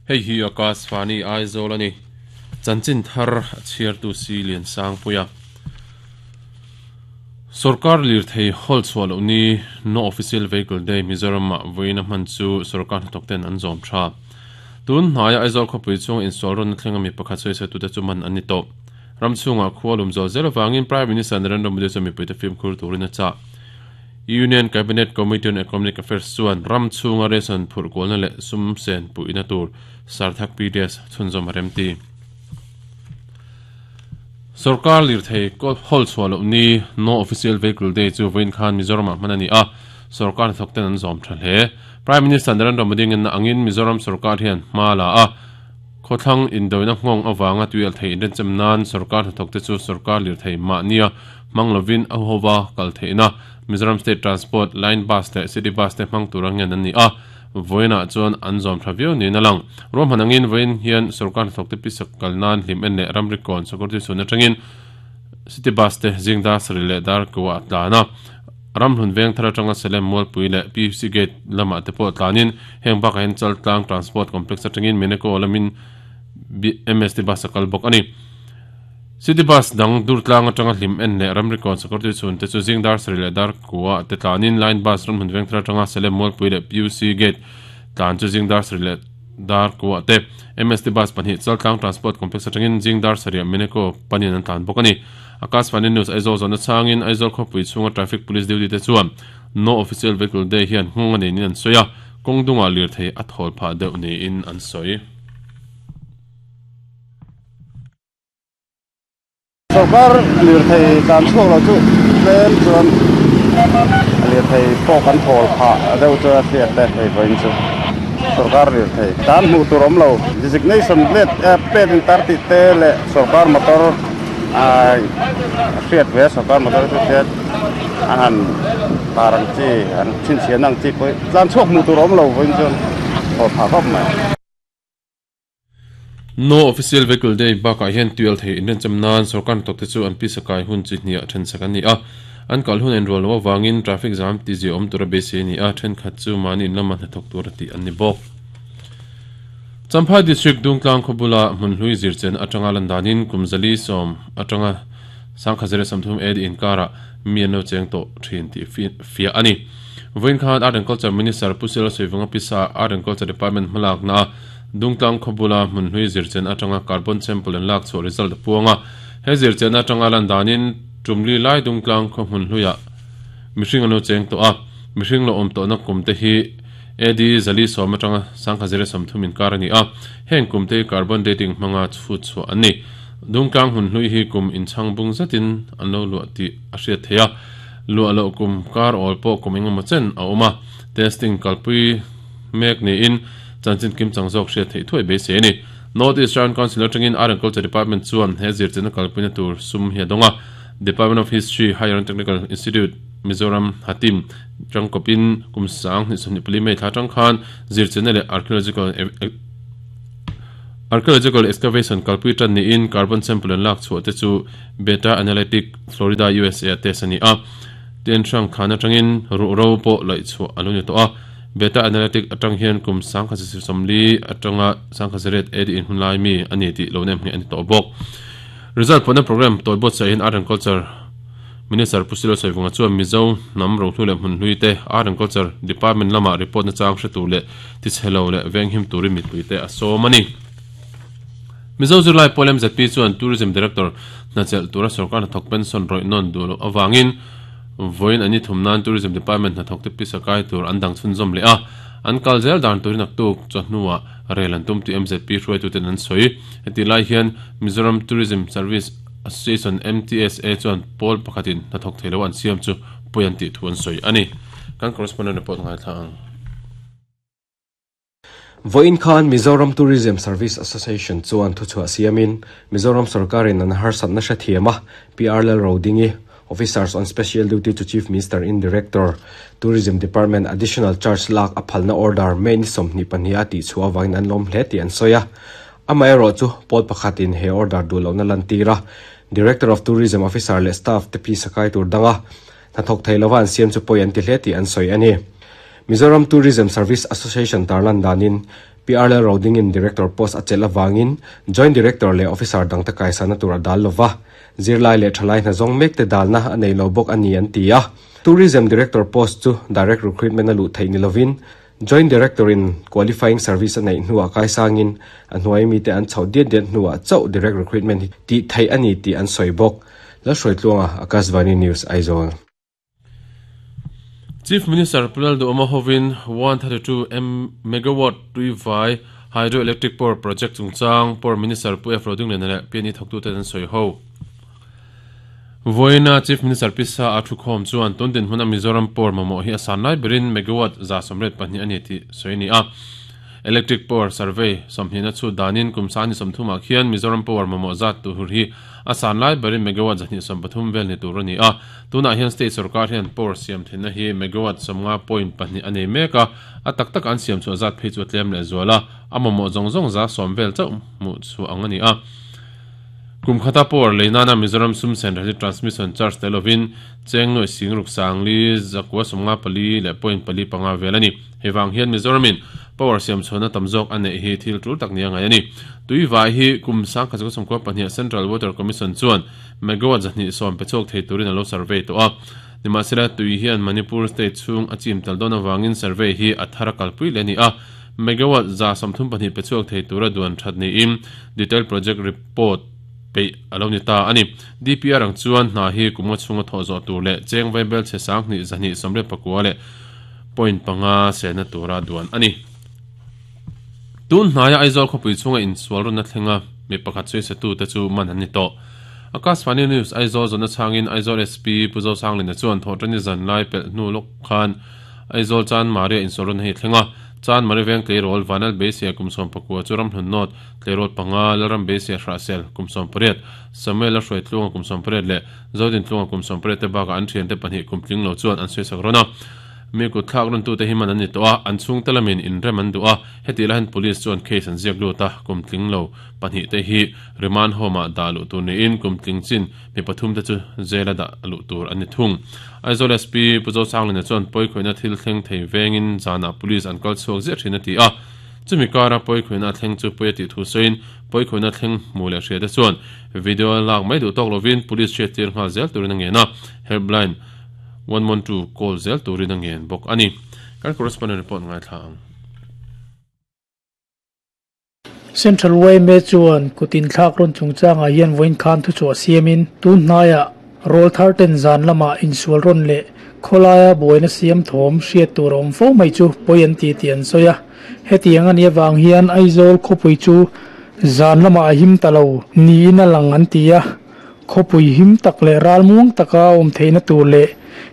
Hei hi Akashvani Aizawl a ni. Chanchin thar a chhiartu si Liansangpuia. Sorkar lirthei hawl chhuah loh ni No Official Vehicle Day Mizoram-ah vawiin a hman chu sorkar hnathawkten an zawm tha. Tun hnaia Aizawl khawpui chhunga insual rawnna thlenga mi pakhat sawisatute chu man an ni tawh. Ram chhungah khua lum zual zel avangin Prime Minister Narendra Modi chuan mipuite fimkhur turin a chah. Union Cabinet Committee on Economic Affairs chuan ram chhunga ration phurh kualna leh sum sen puihna tur Sarthak PDS chhunzawm a remti. Sorkar lirthei hawl chhuah loh ni No Official Vehicle Day chu vawiin khan Mizoramah hman a ni a, sorkar hnathawkten an zawm tha hle. Prime Minister Narendra Modi ngenna angin Mizoram sorkar hian hma la a, Khawthlang indoina nghawng avanga tuialh thei inrenchem nan sorkar hnathawkte chu sorkar lirthei mahnia hmang lovin a huhova kal theihna Mizoram State Transport, Line Bus leh City Bus te hmang tura ngen an ni a, vawiinah chuan an zawm tha viau niin a lang. Ruahman angin vawiin hian sorkar hnathawkte pisak kal nan hlim en leh ramri kawn Security chhun atangin City Bus te zing dar sarih leh dar kuah a tlan a, Ramhlun veng thar atanga Salem Mualpui leh PUC Gate lamah te pawh tlanin heng bakah hian Chaltlang Transport Complex atangin Meneko lamin MST Bus a kal bawk a ni. City Bus dang Durtlang atanga hlim en leh ramri kawn Sakawrtui chhun te chu zing dar sarih leh dar kua te tlanin Line Bus Ramhlun veng thar atanga Salem Mualpui leh PUC Gate tlan chu zing dar sarih leh dar kua te MST Bus pahnih Chaltlang Transport Complex atangin zing dar sarih Meneko panin an tlan bawk a ni. Akashvani News Aizawl zawhna chhangin Aizawl khawpui chhunga Traffic Police duty te chuan No Official Vehicle Day hian nghawng a niin an sawi a, kawng dungah lirthei a thawl phah deuh niin an sawi. Sorkar lirthei tlan chhuak lo chu tlem chuan lirthei pawh kan thawl phah deuh chu a hriat e hei vawiin chu sorkar lirthei tlan hmuh tur awm lo designation plate plate in tar tih te leh sorkar motor hriat ve a sorkar motor chu hriat a han tar ang chi an chhinchhiahna ang chi pawh tlan chhuak hmuh tur a awm lo vawiin chuan thaw phah khawp mai. No Official Vehicle Day bakah hian tuial thei inrenchem nan sorkar hnathawk te chu an pisa kai hun chi hniah thensak an ni a, an kal hun a inrual loh avangin traffic zam tizia awm tura beisei a ni a, thenkhat chu mahni in lama hnathawk tura tih an ni bawk. Champhai District Dungtlang khaw bula hmunhlui zirchen atanga lan danin kum 410 atanga 1033 AD inkarah mi an lo cheng tawh thin tih fiah a ni. Vawiin khan Art and Culture Minister Pu Sela Suivunga Pisa Art and Culture Department hmalakna a Dungtlang khaw bula hmunhlui zirchen atanga carbon sample an lak chhuah result a puang a. He zirchen atanga lan danin tumli lai Dungtlang khaw hmunhluiah mihring an lo cheng tawh a, mihring lo awm tawhna kum te hi AD 410 atanga 1030 inkar a ni a, heng kum te hi carbon dating hmanga chhut chhuah an ni. Dungtlang hmun hlui hi kum inchhang bung zetin an lo luah tih a hriat theih a, luah loh kum kar awl pawh kum engemaw chen a awm a, testing kalpui mek niin chanchin kimchang zawk hriat theih thuai beisei a ni. North East Round Council atangin Art and Culture Department chuan he zirchilhna kalpuina tur sum hi a dawng a, Department of History, Higher and Technical Institute, Mizoram, Hatim, Tangkawpin kum 2024 May thla atang khan zirchilhna leh archaeological archaeological excavation kalpui tan niin carbon sample an lak chhuah te chu Beta Analytic, Florida, USA a test a ni a. Ten hrang khan atangin ruhro pawh laih chhuah a lo ni tawh a. Beta Analytic atang hian kum 1940 atanga 1908 AD in hunlai mi a ni tih lo nem ngheh a ni tawh bawk. Result pawhna program tawi buatsaih hian Art and Culture Minister Pu Silo Saivunga chuan Mizo hnam rohlu leh hmunhlui te Art and Culture Department lama report nachang hre tur leh tichhe lo leh venghim turin mipuite a sawm a ni. Mizo zirlai pawl MZP chuan Tourism Director hna chelh tura sorkar hnathawk pension rawih nawn duh loh avangin vawiin an ni thum nan Tourism Department hnathawkte pisa kai tur an dang chhunzawm leh a, an kal zel dan turin naktuk chawhnuah rel an tum tih MZP hruaituten an sawi. Hetih lai hian Mizoram Tourism Service Association, MTSA, chuan pawl pakhatin hnathawk thei lo an siam chu pawi an tih thu an sawi a ni. Kan correspondent report ngaithla ang. Vawiin khan Mizoram Tourism Service Association chuan thuchhuah siamin Mizoram sorkarin an harsatna hrethiam a, PR Lalrodingi, Officers on Special Duty to Chief Minister in Director, Tourism Department Additional Charge lak a phalna order May ni 22 a tihchhuah avangin an lawm hle tih an sawi a. Amaherawhchu, pawl pakhatin he order duh lohna lantir a, Director of Tourism Officer leh staff te phisa kai tur danga hnathawk thei lova an siam chu pawi an ti hle tih an sawi a ni. Mizoram Tourism Service Association tarlan danin, PR Lalrodingi'n Director post a chelh avangin Joint Director leh Officer dangte kaisana tur a dal lova, zirlai leh thalai hna zawng mekte dalna a nei lo bawk a ni an ti a. Tourism Director post chu Direct Recruitment a luh theih ni lovin Joint Director-in Qualifying Service a neih hnuah kaisangin a hnuai mite an chhoh diat diat hnuah chauh Direct Recruitment hi tih theih a ni tih an sawi bawk. Lalhruaitluanga, Akashvani News, Aizawl. Chief Minister Pu Lalduhawma hovin 132 megawatt tuivai hydroelectric power project chungchang Power Minister Pu F Rodingliana leh PNE thawktute an sawi ho. Vawiina Chief Minister Pi Sa a thukhawm chuan tun dinhmuna Mizoram power mamawh hi a san lai berin megawatt 182 a ni tih sawi a ni a. Electric power survey sawmhnihna chhut danin kum sani sawmthumah khian Mizoram power mamawh zat tur hi a san lai berin megawatt 230 vel ni tur a ni a. Tunah hian state sorkar hian power siam theihna hi megawatt 50.2 a nei mek a, a tak taka an siam chhuah zat phei chu a tlem leh zual a, a mamawh zawng zawng 10% vel chauh hmuh chhuah ang a ni a. Kum khata power lei nana Mizoram sum sen rali transmission charge tel lovin cheng nuaih sing ruk sang li zakua sawmnga pali leh point pali panga vel a ni. Hei vang hian Mizoramin power siam chhuahna tam zawk a neih hi thil tul tak nia ngai a ni. Tui vai hi kum sangkhat zakua sawmkua pahniha Central Water Commission chuan megawatt 210 pe chhuak thei turin a lo survey tawh a. Nimahsela tui hian Manipur state chhung a chim tal dawn avangin survey hi a thar a kalpui leh a ni a. Megawatt 34 pe chhuak thei tura duan that niin detailed project report peih a lo ni ta a ni. DPR ang chuan hna hi kum nga chhunga thawh zawh tur leh cheng vaibel chhe sanghnih zahnih sawmriat pakua leh point panga selna tura duan a ni. Tun hnaia Aizawl khawpui chhunga insual rawnna thlenga mi pakhat sawisatute chu man an ni tawh. Akashvani News Aizawl zawhna chhangin Aizawl SP Pu Zosanglina chuan thawhṭani zan lai pelh hnu lawk khan Aizawl Chan Maria insual rawnna hi a thleng a. Chan Maria veng tleirawl Vanal Beisia kum 14 chu Ramhlun North tleirawl panga, Lalram Beisia Hrahsel kum 18, Samuel a hruai Tluanga kum 18 leh Zodin Tluanga kum 18 te bakah an thiante pahnih kum tling lo chuan an sawisak rawn a. Mi kut thlak rawntute hi man an ni tawh a, an chhungte lamin inrem an duh a, hetih lahin Police chuan case an ziak lut a, kum tling lo pahnih te hi remand home ah dah luh tur niin kum tling chin mi pathum te chu jail a dah luh tur an ni thung. Aizawl SP Pu Zosanglina chuan pawikhawihna thil thleng thei vengin zanah Police an kal chhuak ziah thin a ti a, chumi kara pawikhawihna a thleng chu pawi a tih thu sawiin pawikhawihna thleng hmu leh hria te chuan video lak mai duh tawk lovin Police hriattir nghal zel turin a ngen a, helpline 112 call zel turin a ngen bawk a ni. Kan correspondent report ngaithla ang. Central yma chuan kut inthlak rawn chungchangah hian vawiin khan thuchhuah siamin tun hnaiah rawl thar ten zan lamah insual rawn leh khawlaia buaina siam thawm hriat tur a awm fo mai chu pawi an ti tih an sawi a. Hetiang a nih avang hian Aizawl khawpui chu zan lamah a him ta lo niin a lang an ti a. Khawpui him tak leh ralmuang taka a awm theihna tur leh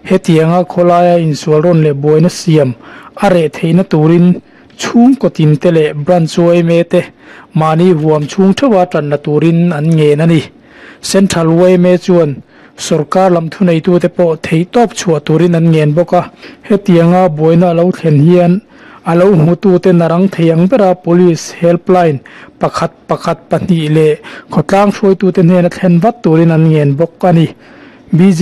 hetianga khawlaia insual rawn leh buaina siam a reh theihna turin Chhungkaw tinte leh branch yma te mahni huam chhung theuha tanna turin an ngen a ni. Central yma chuan sorkar lam thuneitute pawh theihtawp chhuah turin an ngen bawk a. Hetianga buaina a lo thlen hian a lo hmutute narang thei ang bera Police helpline pakhat pakhat pahnih leh khawtlang hruaitute hnena thlen vat turin an ngen bawk a ni.